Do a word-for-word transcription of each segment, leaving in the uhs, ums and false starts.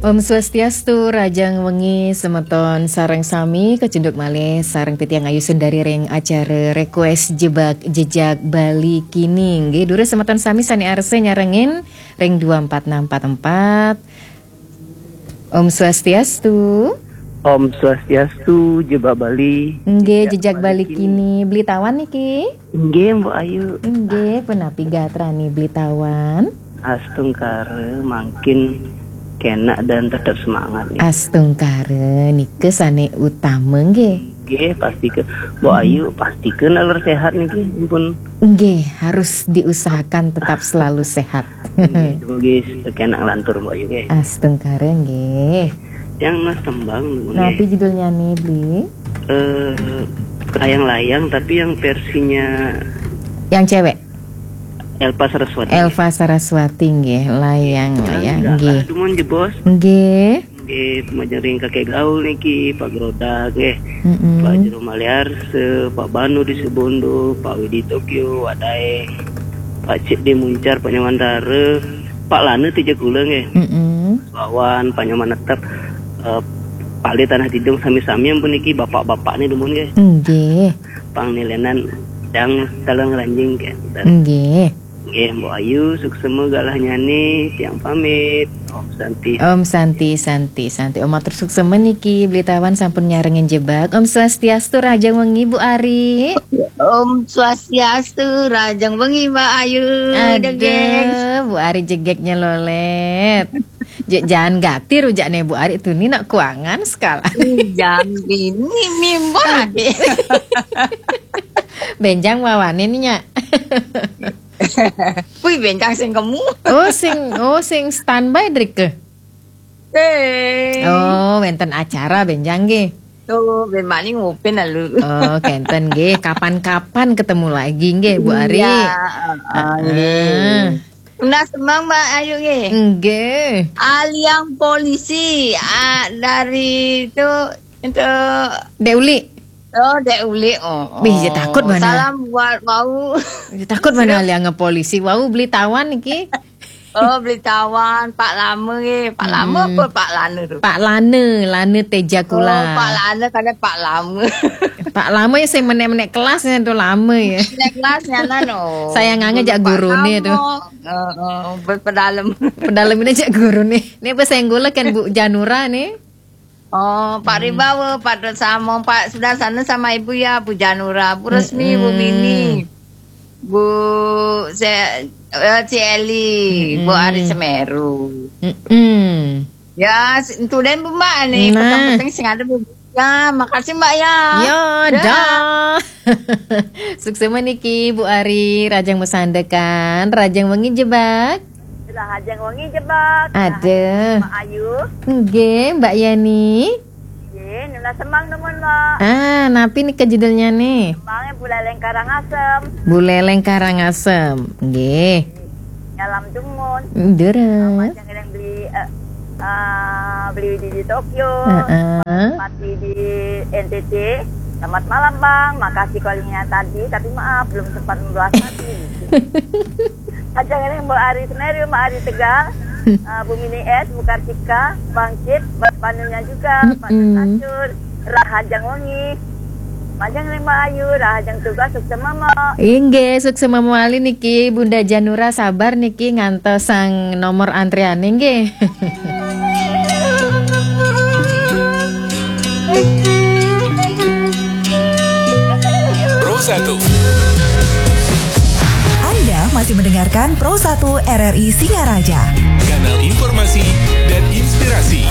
Om Swastiastu, rahajeng wengi semeton sareng sami, kacunduk malih sareng titiang Ayu Sundari ring acara Request Jebak Jejak Bali kini. Nggih, durus semeton sami sane arsa nyarengin ring dua empat enam empat empat. Om Swastiastu. Om Swastiastu, Jebak Bali. Nggih, Jejak Jejak Bali Bali kini. Kini. Beli Tawan niki? Nggih, Mbok Ayu. Nggih, punapi gatrane Beli Tawan? Astungkara, mangkin kenak dan tetap semangat nih. Astungkara, nika sane utama nggih. Nggih, pastika. Mbok Hmm. Ayu, pastika naler sehat niki, pun. Nggih, harus diusahakan tetap selalu sehat. Nggih, semoga kenak lantur, Mbok Ayu, nggih. Astungkara nggih. Yang Mas Tembang, nggih. Napi judulnya nih, Bli? Eh, Layang-Layang, tapi yang versinya Yang cewek? Elva Saraswati. Elva Saraswati nggih, Layang-Layang nggih. Dumun jebos. Nggih. Nggih, majeng ring Kakek Gaul niki, Pak Grodak nggih. Mm-mm. Pak Jero Maliarsa, Pak Banu di Sebondo, Pak Widi Tokyo, Wak Daeng, Pak Cik di Muncar, Pak Nyaman Dara, Pak Lana Tija Kula nggih. Mm-mm. Wawan, Pak Nyaman Netep, eh, Pak Le Tanah Tidung, sami-sami ampun niki bapak-bapak nih dumun nggih. Nggih. Pangnilenan yang dalang ranjing nggih. Nggih. Nggih, Mbok Ayu, suksema galah nyane, tiang pamit. Om Santi. Om Santi, Santi, Santi. Om matur suksema niki, Beli Tawan sampun nyarengin jebak. Om Swastiastu, rahajeng wengi, Bu Ari. Om Swastiastu, rahajeng wengi, Mbak Ayu. Aduh, Bu Ari jegegnya lolet. Jek jangan gatir ujakne Bu Ari tuh, ni nak kuangan sekala. Jam ini mimbar. Benjang wawane ni, Nyak. Wih, bencang sing kemu. Oh, sing, oh, sing standby drike. Eh. Oh, wenten acara benjang nggih. Oh, ben mani ngupin lalu. Oh, kenten nggih. Kapan-kapan ketemu lagi nggih, Bu Ari. Iya, heeh, nggih. Nah, semang, Mbak Ayu nggih. Nggih. Aliang polisi, ah, dari itu, itu Dek Uli. Oh, Dek Uli. Oh, Bih, ya oh. Takut mana? Salam buat wau. Ya, takut mana aliang polisi. Wau Beli Tawan niki. Oh, Beli Tawan, Pak Lama nggih. Pak Lama apa Pak Lana tu? Pak Lana, Lana Teja Kula. Oh, Pak Lana kada Pak Lama. Pak Lama ya sing menek-menek kelasnya tu lama ya. Menek kelasnya nan, oh. Sayang ange jak gurune tu. Heeh, pedalem. Pedalem ini jak gurune. Ini apa senggol kan Bu Janura nih? Oh, Pak Ribawa, Pak Dot Samong, Pak Sudarsana sama Ibu ya, Bu Janura, Bu Resmi, Bu Mini, Bu Se eh, Ci Eli, Bu Ari Semeru. Mm-mm. Ya, si- itu dan Bu Mbak nih, nah, peteng-peteng sing ada Bu. Ya, makasih Mbak ya. Ya, dah. Suksema niki Bu Ari, rahajeng masandekan, rahajeng wengi jebak. Rahajeng wengi jebak. Ada. Rahajeng Mbak Ayu. Nggih, Mbak Yani. Nggih, nunas semang dumun, Mbak. Ah, napi nika judulnya nih? Semangnya Buleleng Karangasem. Buleleng Karangasem. Nggih. Nyalam dumun. Durus. Sama yang Beli, eh, eh, Beli di, di Tokyo. Heeh. Mati di N T T. Selamat malam, Bang. Makasih callingnya tadi, tapi maaf belum sempat membalas tadi. Aja ini Mbak Ari Semeru, Mbak Ari Tegal, eh, Bu Mini S, Bu Kartika, Bangkit, Mbak Panunya juga, Pak Mm-mm. Tacur, Rahajang Wengi. Majeng ring Mbak Ayu, rahajeng tugas, suksema, Mbak. Inggih, suksema malih niki, Bunda Janura, sabar niki ngantos sang nomor antriane nggih. Pro satu. Anda masih mendengarkan Pro satu R R I Singaraja. Kanal informasi dan inspirasi.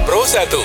Pro satu.